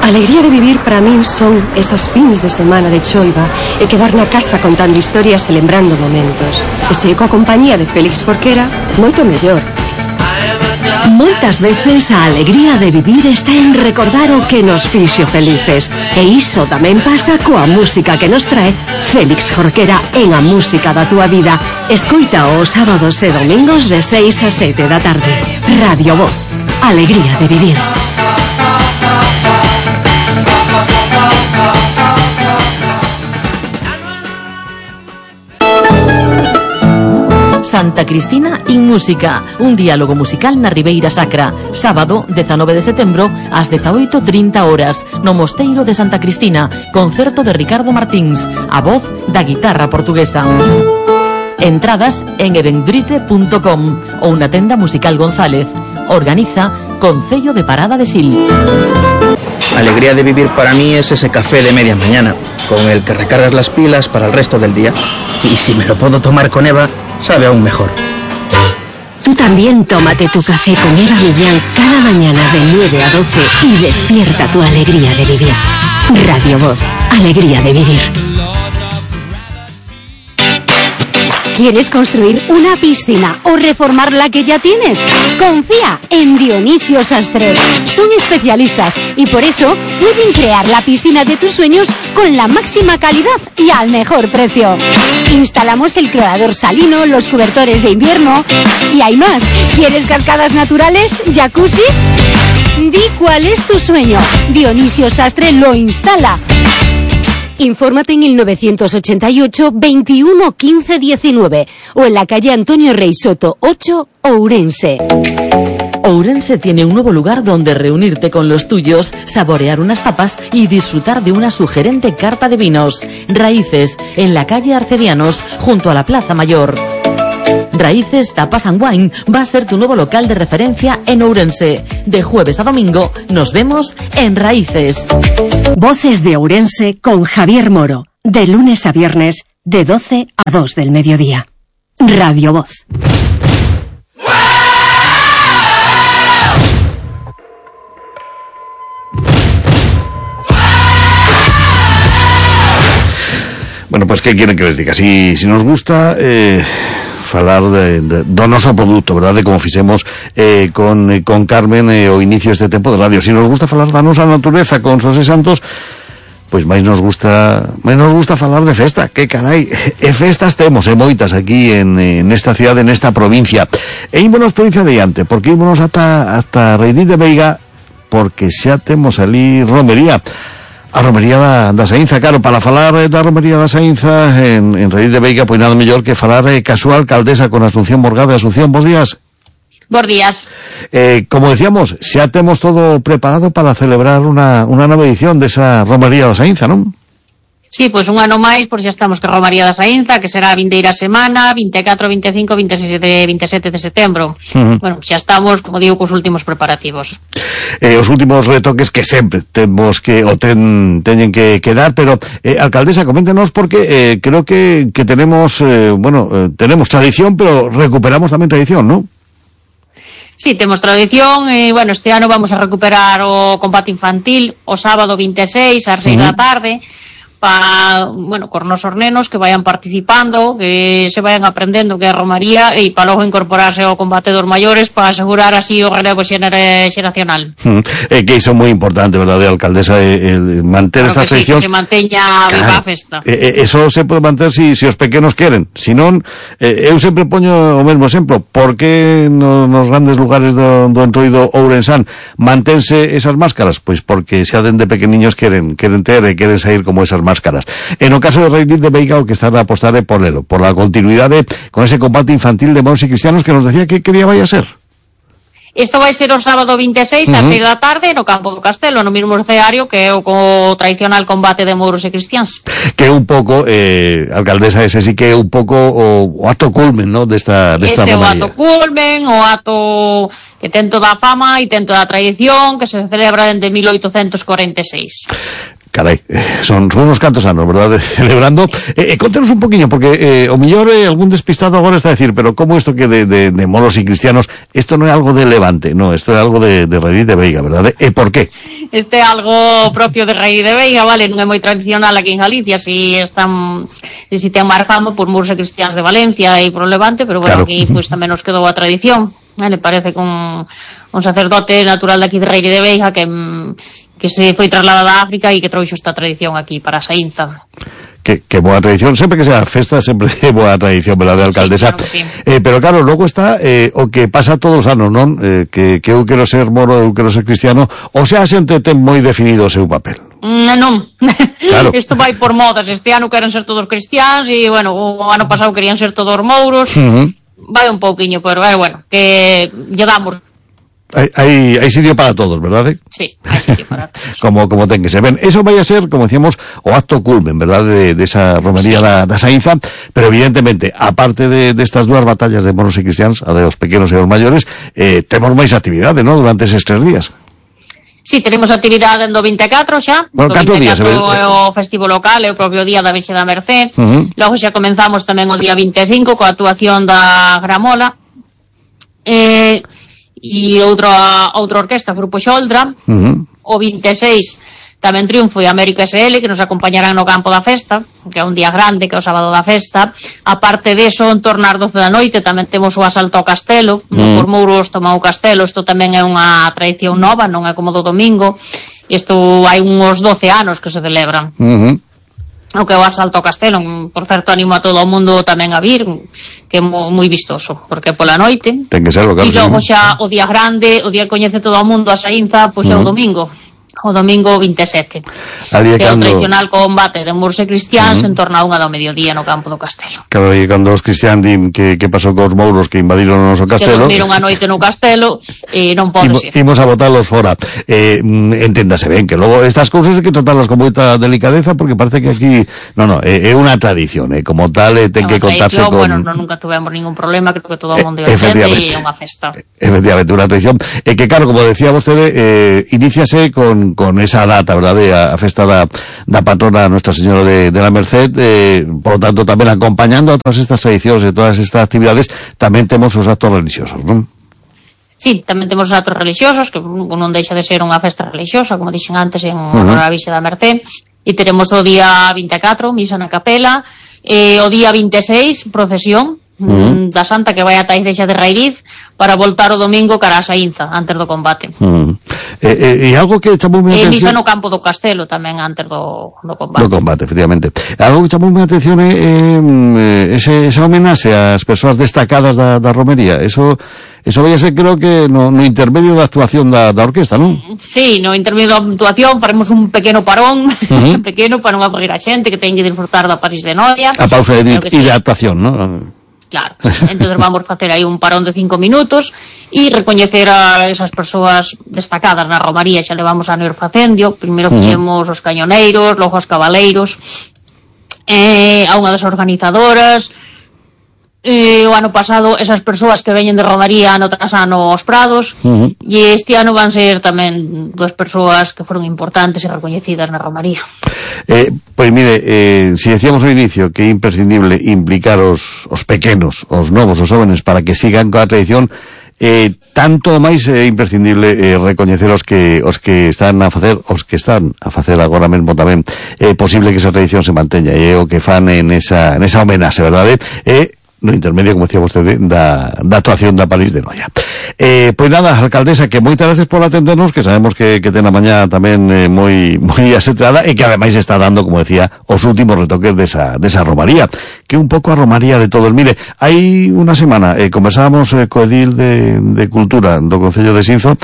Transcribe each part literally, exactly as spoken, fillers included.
Alegría de vivir para min son esas fins de semana de choiva e quedar na casa contando historias e lembrando momentos. E se coa compañía de Félix Jorquera, moito mellor. Moitas veces a alegría de vivir está en recordar o que nos fixo felices. E iso tamén pasa coa música que nos trae Félix Jorquera en A Música da Túa Vida. Escoita os sábados e domingos de seis a sete da tarde. Radio Voz. Alegría de vivir. Santa Cristina in Música, un diálogo musical na Ribeira Sacra, sábado dezanove de setembro ás dezaoito e trinta horas, no Mosteiro de Santa Cristina, concerto de Ricardo Martins, a voz da guitarra portuguesa. Entradas en eventbrite punto com ou na tenda musical González. Organiza Concello de Parada de Sil. Alegría de vivir para mí es ese café de media mañana, con el que recargas las pilas para el resto del día. Y si me lo puedo tomar con Eva, sabe aún mejor. Tú también tómate tu café con Eva Millán cada mañana de nueve a doce y despierta tu alegría de vivir. Radio Voz, alegría de vivir. ¿Quieres construir una piscina o reformar la que ya tienes? Confía en Dionisio Sastre. Son especialistas y por eso pueden crear la piscina de tus sueños con la máxima calidad y al mejor precio. Instalamos el clorador salino, los cobertores de invierno y hay más. ¿Quieres cascadas naturales? ¿Jacuzzi? Di cuál es tu sueño. Dionisio Sastre lo instala. Infórmate en el novecientos ochenta y ocho, veintiuno, quince, diecinueve o en la calle Antonio Rey Soto ocho, Ourense. Ourense tiene un nuevo lugar donde reunirte con los tuyos, saborear unas tapas y disfrutar de una sugerente carta de vinos. Raíces, en la calle Arcedianos, junto a la Plaza Mayor. Raíces Tapas and Wine va a ser tu nuevo local de referencia en Ourense. De jueves a domingo nos vemos en Raíces. Voces de Ourense con Javier Moro. De lunes a viernes, de doce a dos del mediodía. Radio Voz. Bueno, pues ¿qué quieren que les diga? Si, si nos gusta... Eh... falar de, de, do noso produto, verdade, como fixemos eh, con, eh, con Carmen eh, o inicio deste tempo de radio. Si nos gusta falar da nosa natureza con Xosé Santos, pois máis nos gusta máis nos gusta falar de festa, que carai, e festas temos, e moitas aquí en, en esta cidade, nesta provincia. E ímonos provincia de diante, porque ímonos ata, ata Reidí de Veiga, porque xa temos ali romería. A romería da, da Saínza, claro, para falar da romería da Saínza en, en Reidí de Veiga, pois nada mellor que falar eh, ca súa alcaldesa con Asunción Morgade. Asunción, bons días. Bons días. Eh, como decíamos, xa temos todo preparado para celebrar unha, unha nova edición desa romería da Saínza, non? Sí, pois un ano máis, por xa estamos que a romería da Saínza, que será a vindeira semana, vinte e catro, vinte e cinco, vinte e seis, vinte e sete de setembro. Uh-huh. Bueno, xa estamos, como digo, cos últimos preparativos. Eh, os últimos retoques que sempre temos que, o ten, teñen que quedar, pero, eh, alcaldesa, coméntenos, porque eh, creo que, que tenemos, eh, bueno, eh, tenemos tradición, pero recuperamos tamén tradición, ¿no? Sí, temos tradición, e, bueno, este ano vamos a recuperar o combate infantil o sábado vinte e seis, ás seis uh-huh. da tarde, para, bueno, cos nosos nenos que vayan participando, que se vayan aprendendo que é a romaría e para logo incorporarse ao combate dos maiores para asegurar así o relevo xeracional. Mm, eh, que iso é moi importante, verdade, alcaldesa, eh, el manter claro estas tradicións. Sí, que se manteña claro, viva a festa. Eh, eso se pode manter si, si os pequenos queren, si non, eh, eu sempre poño o mesmo exemplo, porque no, nos grandes lugares do, do entroido ourensán mantense esas máscaras? Pois porque xa dende pequeniños queren, queren ter e queren sair como esas máscaras. Máscaras. En o caso de Reidí de Veiga, o que están a apostar é por elo, por la continuidade con ese combate infantil de moros e cristianos que nos decía que quería vai a ser. Isto vai ser o sábado vinte e seis, uh-huh. ás seis da tarde, no Campo do Castelo, no mesmo escenario que é o co tradicional combate de mouros e cristiáns. Que é un pouco, eh, alcaldesa, ese sí que é un pouco o, o ato culmen, ¿no?, desta, desta ese romería. Ese o ato culmen, o ato que ten toda a fama e ten toda a tradición, que se celebra desde mil oitocentos cuarenta e seis. Carai, eh, son, son unos cantos anos, verdad, celebrando. Eh, eh, contenos un poquinho, porque eh, o millor eh, algún despistado agora está a decir, pero como isto que de, de, de moros e cristianos, isto non é algo de Levante, no, isto é algo de, de Raíz de Veiga, verdad? E por qué? Este é algo propio de Raíz de Veiga, vale, non é moi tradicional aquí en Galicia, si están, si ten máis fama por moros e cristianos de Valencia e por Levante, pero bueno, claro, aquí pues, tamén nos quedou a tradición. Vale, parece que un, un sacerdote natural de aquí de Raíz de Veiga que, que se foi trasladado a África e que trouxo esta tradición aquí para a Saínza. Que, que boa tradición, sempre que sea festa, sempre é boa tradición, verdade, alcaldesa? Sí, claro, sí. Eh, pero claro, logo está eh, o que pasa todos os anos, non? Eh, que, que eu quero ser moro, eu quero ser cristiano, ou sea, a xente ten moi definido o seu papel. Mm, non, claro. Isto vai por modas, este ano queren ser todos cristianos e, bueno, o ano pasado querían ser todos mouros, uh-huh. Vai un pouquiño, pero bueno, que lle damos. Hai, hai, hai sitio para todos, verdade? Sí, hai sitio para todos. como, como ten que ser. Ben, eso vai a ser, como decíamos, o acto culmen, verdade, de, de esa romería sí. da, da Saínza, pero evidentemente, aparte de, de estas dúas batallas de moros e cristianos, a de os pequenos e os maiores, eh, temos máis actividade, non? Durante eses tres días. Sí, tenemos actividade en do vinte e catro xa, bueno, do vinte e catro é o festivo local, é o propio día da Virxe da Mercé, uh-huh. Logo xa comenzamos tamén o día vinte e cinco coa actuación da Gramola, eh, e outra, outra orquesta, Grupo Xoldra, uh-huh. O vinte e seis tamén Triunfo e América S L, que nos acompañarán no campo da festa, que é un día grande, que é o sábado da festa. Aparte deso, en torno ás doce da noite, tamén temos o asalto ao castelo, mm. no por Mouros toma o castelo, isto tamén é unha tradición nova, non é como do domingo, isto hai uns doce anos que se celebran. Uh-huh. O que é o asalto ao castelo, por certo, animo a todo o mundo tamén a vir, que é moi vistoso, porque é pola noite. Ten que ser local. E logo xa o día grande, o día que coñece todo o mundo a Saínza, pois é uh-huh. o domingo. O domingo vinte e sete, que é o tradicional combate de moros e cristianos uh-huh. en torno a unha do mediodía no campo do castelo. Claro, e cando os cristianos din que, que pasou cos mouros que invadiron o noso castelo, que dormiron a noite no castelo e non pode ser. Imos a botalos fora. Eh, enténdase ben que logo estas cousas hai que tratarlas con moita delicadeza, porque parece que aquí no, no, é, é unha tradición, eh, como tal eh, ten que contarse con... Bueno, non, nunca tuvemos ningún problema, creo que todo o mundo eh, entende e é unha festa. Efectivamente, unha tradición. E que, claro, como decía vostede, eh, iníciase con con esa data, verdade, a, a festa da, da patrona Nuestra Señora de, de la Merced, eh, por lo tanto, tamén acompañando a todas estas tradicións e todas estas actividades, tamén temos os actos religiosos, non? Sí, tamén temos os actos religiosos, que non deixa de ser unha festa religiosa, como dixen antes, en honor a Virxe da Merced, e teremos o día vinte e catro, misa na capela, e o día vinte e seis, procesión, Uh-huh. da Santa que vai ata a igrexa de Rairiz para voltar o domingo cara a Saínza antes do combate. Uh-huh. E, e, e algo que chamou a atención... E misa no campo do castelo tamén antes do, do combate. Do combate, efectivamente. Algo que chamou a atención é eh, ese, esa homenaxe ás persoas destacadas da, da romería. Eso eso vai a ser, creo que no, no intermedio da actuación da, da orquesta, non? Sí, no intermedio da actuación faremos un pequeno parón, uh-huh. pequeno para non aburrir a xente que ten que disfrutar da París de Noia. A pausa de hidratación, sí. non? Claro, entonces vamos facer aí un parón de cinco minutos e recoñecer a esas persoas destacadas na romaría, xa levamos a ir facendo, primeiro fixemos os cañoneiros, logo os cabaleiros, eh, a unha das organizadoras, eh, o ano pasado esas persoas que veñen de romaría ano tras ano aos prados, uh-huh. e este ano van ser tamén dúas persoas que foron importantes e recoñecidas na romaría. Eh, pois mire, eh, si decíamos ao inicio que é imprescindible implicar os, os pequenos, os novos, os jóvenes, para que sigan coa tradición, eh, tanto máis é imprescindible eh, recoñecer os que os que están a facer, os que están a facer agora mesmo tamén é eh, posible que esa tradición se manteña, e eh, o que fan en esa, en esa homenaxe, verdade? E eh, no intermedio, como decía vostede, da, da actuación da París de Noia. Eh, pois nada, alcaldesa, que moitas veces por atendernos, que sabemos que, que ten a mañá tamén eh, moi moi asetrada, e que ademais está dando, como decía, os últimos retoques desa, desa romaría, que un pouco a romaría de todos. Mire, hai unha semana eh, conversábamos eh, co edil de, de Cultura do Concello de Xinzo,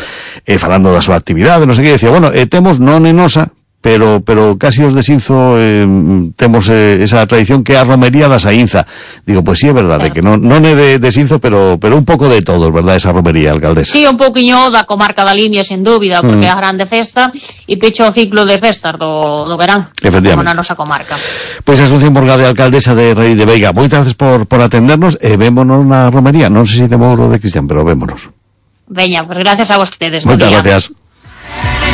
eh, falando da súa actividade, non sei que, decía, bueno, eh, temos non en nosa, pero pero casi os de Xinzo eh, temos eh, esa tradición que é a romería da Saínza. Digo, pois pues sí, é verdade, claro. que non, non é de, de Xinzo, pero pero un pouco de todos, verdade, esa romería, alcaldesa? Sí, un pouquiño da comarca da Limia, sen dúbida, porque é mm. a grande festa, e pecho o ciclo de festas do, do verán, como na nosa comarca. Pois pues Asunción Morgade, alcaldesa de Raíz de Veiga, moitas gracias por, por atendernos, e vémonos na romería, non sei se de Mouro de Cristian, pero vémonos. Veña, pois pues gracias a vostedes. Moitas gracias.